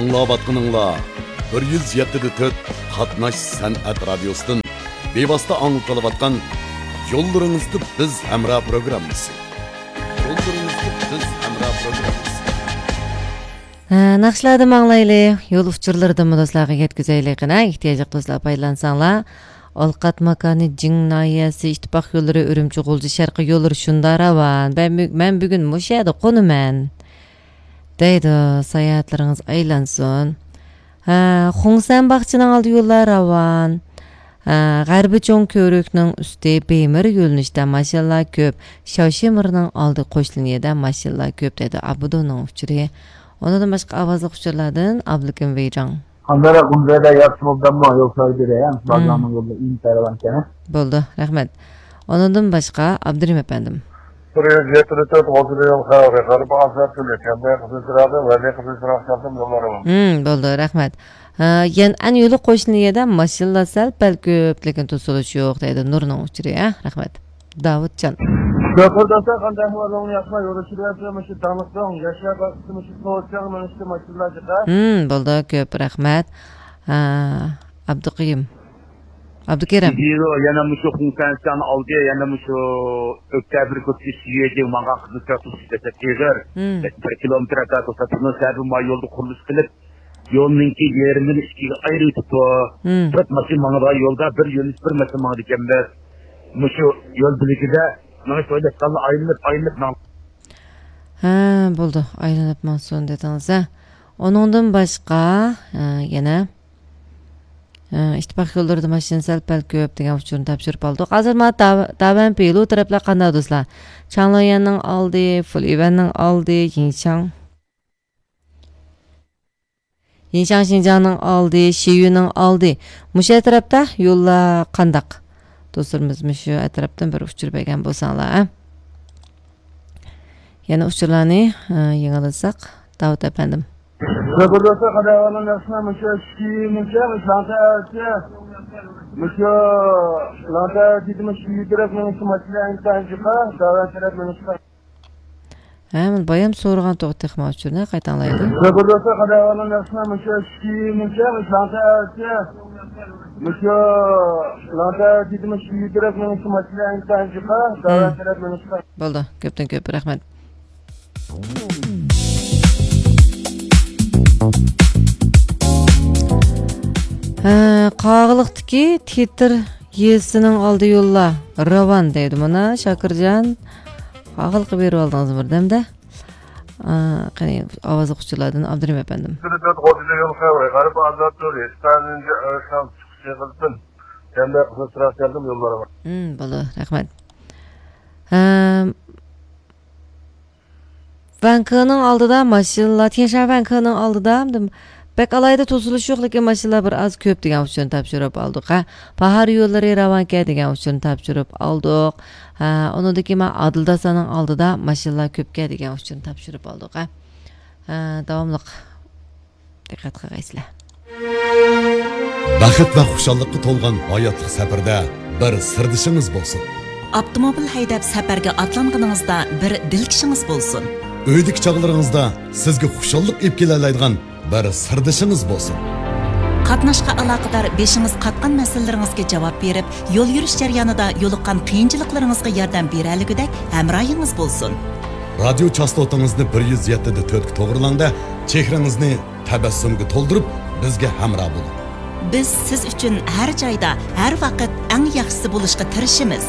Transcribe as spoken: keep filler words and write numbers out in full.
ئاڭلاۋاتقىنىڭلار بىر يۈز يەتتە دە تۆت قاتناش سەنئەت رادىيوسىدىن بىۋاسىتە ئاڭلىتىلىۋاتقان يوللىرىڭىزدا بىز ھەمراھ پروگراممىسى. يوللىرىڭىزدا بىز ھەمراھ پروگراممىسى. ھە، ناخشىلاردىن ئاڭلايلى. يول ئۇچۇرلىرىدىنمۇ دوستلارغا يەتكۈزەيلى قېنى، ئېھتىياجلىق دوستلار پايدىلانساڭلار. ئالقات ماكانى جىڭ ناھىيەسى ئىتتىپاق يوللىرى ئۈرۈمچى غۇلجا شەرقىي يوللىرى شۇنداق راۋان. مەن بۈ-، مەن بۈگۈن مۇشۇ يەردە قونىمەن. دەيدۇ، ساياھەتلىرىڭىز ئايلانسۇن. ھە، خۇڭسەن باغچىنىڭ ئالدى يوللار راۋان. ھە، غەربىي چوڭ كۆۋرۈكنىڭ ئۈستى بېيمىر يۆنىلىشتە ماشىنىلار كۆپ. شاۋشىمىرنىڭ ئالدى قوش لىنىيەدە ماشىنىلار كۆپ، دەيدۇ ئابدۇنىڭ ئۇچۇرى. ئۇنىڭدىن باشقا ئاۋازلىق ئۇچۇرلاردىن ئابلىكىم ۋېيجاڭ. قانداقراق گۇمزەيدە ياخشى بولدىمۇ يول سايدىرى، ھە؟ بازارنىڭ يولى ئىنتايىن كەڭ. بولدى، رەھمەت. ئۇنىڭدىن باشقا ئابدۇرېھىم ئەپەندىم. بىر يۈز يەتتە تۆت غوزىلى يول خەۋىرى، غەربىي ئازاد تۈرلۈك، ھەمدە قىزىل چىراغدا ۋەلى قىزىل چىراغ چاقتىم يوللىرىمۇ. ھىم، بولدى، رەھمەت. ھە، يەنئەن يولى قوشنا يەردە ماشىنىلار سەل پەل كۆپ، لېكىن توسۇلۇش يوق، دەيدۇ نۇرنىڭ ئۇچۇرى، ھە؟ رەھمەت. داۋۇتجان. شوپۇر دوستلار، قانداق ئەھۋالىڭلار ياخشىمۇ؟ يول ئۇچۇرى ياخشى، مۇشۇ داڭلىق داڭ، ياشار باغچىسى، مۇشۇ سوۋۇتچاڭ مېڭىشتى ماشىنىلار چىقا. ھىم، بولدى، كۆپ رەھمەت. ھە، ئابدۇقېيۇم. ئابدۇكېرىم. يەنە مۇشۇ خۇڭسەنسىيانى ئالدى، يەنە مۇشۇ ئۆكتەبىر كوچىسى شىيېجىڭ ماڭغان قىزىل تىراكتور سۈپەتتە ئېغىر. ھىم. بىر كىلومېتىر ئەتراپىدا توختاپ تۇرىمىز. سەۋەبى ما يولدا قۇرۇلۇش قىلىپ، يولنىڭكى يېرىمىنى ئىككىگە ئايرىۋېتىپتۇ. ھىم. تۆت ماشىنا ماڭىدىغان يولدا بىر يۆنىلىش بىر ماشىنا ماڭىدىكەنمىز. مۇشۇ يول بۆلىكىدە مېڭىش ئويلاشقانلا ئايلىنىپ، ئايلىنىپ ماڭ. ھە، بولدى. ئايلىنىپ ماڭسۇن دېدىڭىز، ھە. ئۇنىڭدىن باشقا، ھە، يەنە، ھە، ئىتتىپاق يوللىرىدا ماشىنا سەل پەل كۆپ دېگەن ئۇچۇرنى تاپشۇرۇپ ئالدۇق. ھازىر مانا داۋ-، داۋەنپى يولى تەرەپلەر قانداق دوستلار؟ چاڭليۈەننىڭ ئالدى، فۇليۈەننىڭ ئالدى، يىنشاڭ. يىنشاڭ شىنجاڭنىڭ ئالدى، شىيۈنىڭ ئالدى. مۇشۇ ئەتراپتا يوللار قانداق؟ دوستلىرىمىز مۇشۇ ئەتراپتىن بىر ئۇچۇر بەرگەن بولساڭلار، ھە؟ يەنە ئۇچۇرلارنى، ھە، يېڭىلىساق، داۋۇت ئەپەندىم. شوپۇر دوستلار، قانداق ئەھۋالىڭلار ياخشىمۇ؟ مۇشۇ شىيۈنىڭكى، مۇشۇ لانتا ئەتراپى، مۇشۇ لانتا ئەتراپى، مۇشۇ شىيۈ تەرەپ مېڭىشقا ماشىنا ئىنتايىن جىقا، داۋەن تەرەپ مېڭىشقا. ھە، مانا بايام سورىغان توغرا تېخىمۇ ئۇچۇرنى قايتا ئاڭلايلى. شوپۇر دوستلار، قانداق ئەھۋالىڭلار ياخشىمۇ؟ مۇشۇ شىيۈنىڭكى، مۇشۇ لانتا ئەتراپى، مۇشۇ لانتا ئەتراپى، مۇشۇ شىيۈ تەرەپ مېڭىشقا ماشىنا ئىنتايىن جىقا، داۋەن تەرەپ مېڭىشقا. بولدى، كۆپتىن كۆپ رەھمەت. ھە، قاغىلىقتىكى تېتىر يېزىسىنىڭ ئالدى يوللار راۋان دەيدۇ. مانا، شاكىرجان، قاغىلىققا بېرىۋالدىڭىز بىردەمدە. ئا، قېنى، ئاۋازلىق ئۇچۇرلاردىن ئابدۇرېھىم ئەپەندىم. بىر تۆت غوزىلى يول خەۋىرى، غەربىي ئازاد تۈرى، ئىستانىنجى ئۆشان چىقىشى قىلسۇن. يەنە قىزىل چىراغ چاقتىم يوللىرىمۇ. ھىم، بولدى، رەھمەت. ھەم، ۋەنكېنىڭ ئالدىدا ماشىنىلار، تيەنشان ۋەنكېنىڭ ئالدىدا بەك ئالاھىدە توسۇلۇش يوق، لېكىن ماشىنىلار بىر ئاز كۆپ دېگەن ئۇچۇرنى تاپشۇرۇپ ئالدۇق، ھە. باھار يوللىرى راۋانكەن دېگەن ئۇچۇرنى تاپشۇرۇپ ئالدۇق، ھە. ئۇنىڭدىن كېيىن مانا ئادىلداسانىڭ ئالدىدا ماشىنىلار كۆپكەن دېگەن ئۇچۇرنى تاپشۇرۇپ ئالدۇق، ھە. ھە، داۋاملىق دىققەت قىلغايسىلەر. بەخت ۋە خۇشاللىققا تولغان ھاياتلىق سەپىرىدە بىر سىردىشىڭىز بولسۇن. ئاپتوموبىل ھەيدەپ سەپەرگە ئاتلانغىنىڭىزدا بىر دىلكىشىڭىز بولسۇن. ئۆيدىكى چاغلىرىڭىزدا سىزگە خۇشاللىق ئېلىپ كېلەلەيدىغان بىر سىردىشىڭىز بولسۇن. قاتناشقا ئالاقىدار بېشىڭىز قاتقان مەسىلىلىرىڭىزگە جاۋاب بېرىپ، يول يۈرۈش جەريانىدا يولۇققان قىيىنچىلىقلىرىڭىزغا ياردەم بېرەلىگۈدەك ھەمراھىڭىز بولسۇن. رادىيو چاستوتىڭىزنى بىر يۈز يەتتە دە تۆتكە توغرىلاڭ-دە، چېھرىڭىزنى تەبەسسۇمگە تولدۇرۇپ، بىزگە ھەمراھ بولۇڭ. بىز سىز ئۈچۈن ھەر جايدا، ھەر ۋاقىت ئەڭ ياخشىسى بولۇشقا تىرىشىمىز.